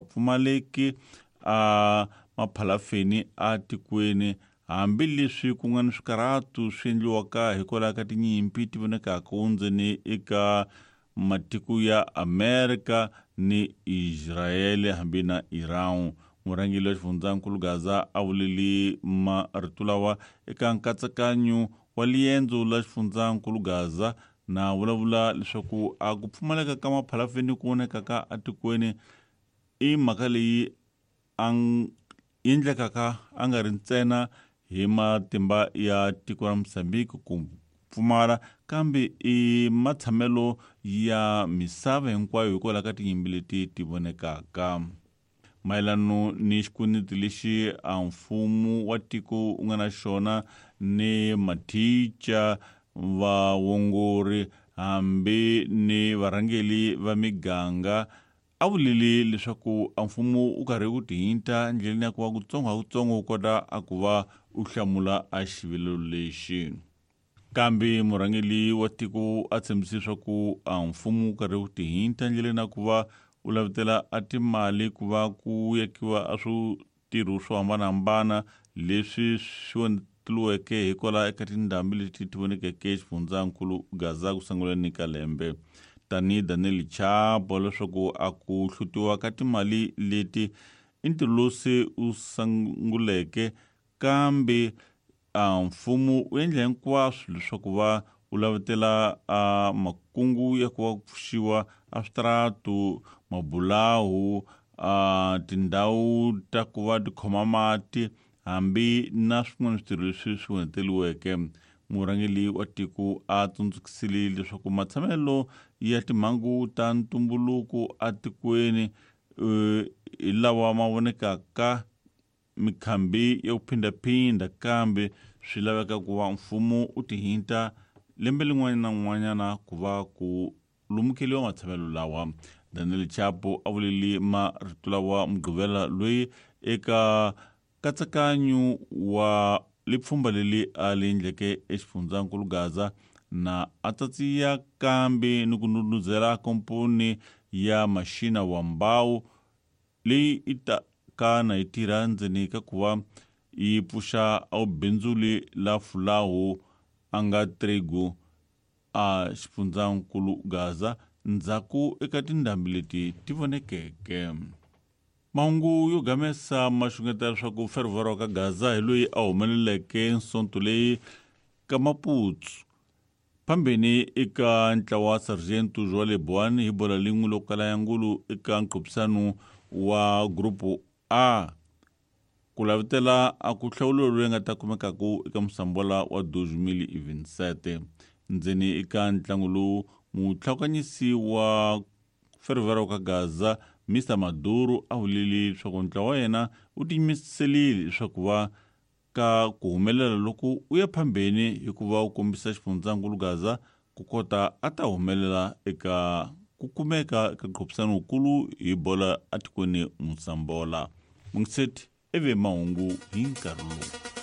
Pfumaleki a maphalafeni a tikweni hambileswi ku nga ni swikarhatu swi endliwaka hikwalaho ka tinyimpi ti vonekaka ndzeni eka matiko ya Amerika ni Israele hambi na Iran. Murhangeri wa xifundzankulu Gaza a vuleli marito lawa eka nkatsakanyo wa liendzo la xifundzankulu Gaza na vulavula leswaku a ku pfumaleka ka maphalafeni ku vonekaka atikweni i mhaka leyi a endlekaka a nga ri ntsena hi matimba ya tiko ra Mozambique ku pfumala kambe i matshamelo ya misava hinkwayo hikwalaho ka tinyimpi leti ti vonekaka. Mayelano ni xikweleti lexi a mfumo wa tiko wu nga na xona ni mathica vaongori hambi ni varhangeli va miganga a vulile leswaku a mfumo wu karhi wu tihinta ndleleni ya ku va kutsongo ha kutsongo wu kota a ku va u hlamula a xivilelo lexi. Kambe murhangeli wa tiko a tshembise leswaku a mfumo wu karhi wu tihinta ndleleni ya ku va u lavetela a timali ku va ku yakiwa a switirho swo hambanahambana leswi swi onheteliweke hikwalaho eka tindhambi leti ti vonekeke xifundzankulu Gaza ku sunguleni ka lembe. Tanihi Daniel Chapo leswaku a ku hlutiwa ka timali leti i ntirho lowu se wu sunguleke kambe a mfumo wu endla hinkwaswo leswaku va wu lavetela a makungu ya ku va ku pfuxiwa a switaratu mabulahu a tindhawu ta ku va ti khoma mati hambi na swin'wana switirho leswi swi onheteriweke. Murhangeri wa tiko a tsundzukisile leswaku matshamelo ya timhangu ta ntumbuluko atikweni hi lawa ma vonekaka mikhambi ya ku phindhaphindha kambe swi laveka ku va mfumo wu tihinta lembe lin'wana na n'wanyana ku va ku lumukeliwa matshamelo lawa. Daniel Chapo a vuleli marito lawa Mugqivela loyi eka nkatsakanyo wa lipfhumba leli a li endleke exifundzankulu Gaza na a tsatsiya kambe ni ku ndhundhuzela komponi ya Mashina wa Mbawu leyi i ta ka na yi tirha ndzeni ka ku va yi pfuxa a bindzuli la fulahu a nga Tregu a xifundzankulu Gaza ndzhaku eka tindhambi leti ti vonekeke. Mahungu yo gamesa ma xungeta leswaku Fervora wa ka Gaza hi loyi a humeleleke nsonto leyi ka Maputsu phambeni eka ntlawa wa Sargento Joale Boane hi bola lin'we loko kala ya ngulu eka nqophisano wa Grupo A ku lavetela a ku hlawuliwa loyi nga ta kumekaku eka musambola wa 2027 ndzeni eka ntlangu lowu mutlhakanyisi wa Fervera wa ka Gaza Mr Maduro a vulile leswaku ntlawa wa yena wu tiyimiselile leswaku va ka ku humelela loku u ya phambeni hikuva u kombisa xifundzankulu Gaza ku kota a ta humelela eka ku kumeka eka nqophisano wukulu hi bola atikweni Musambola. Mungiseti ivi mahungu hi nkarhi lowu.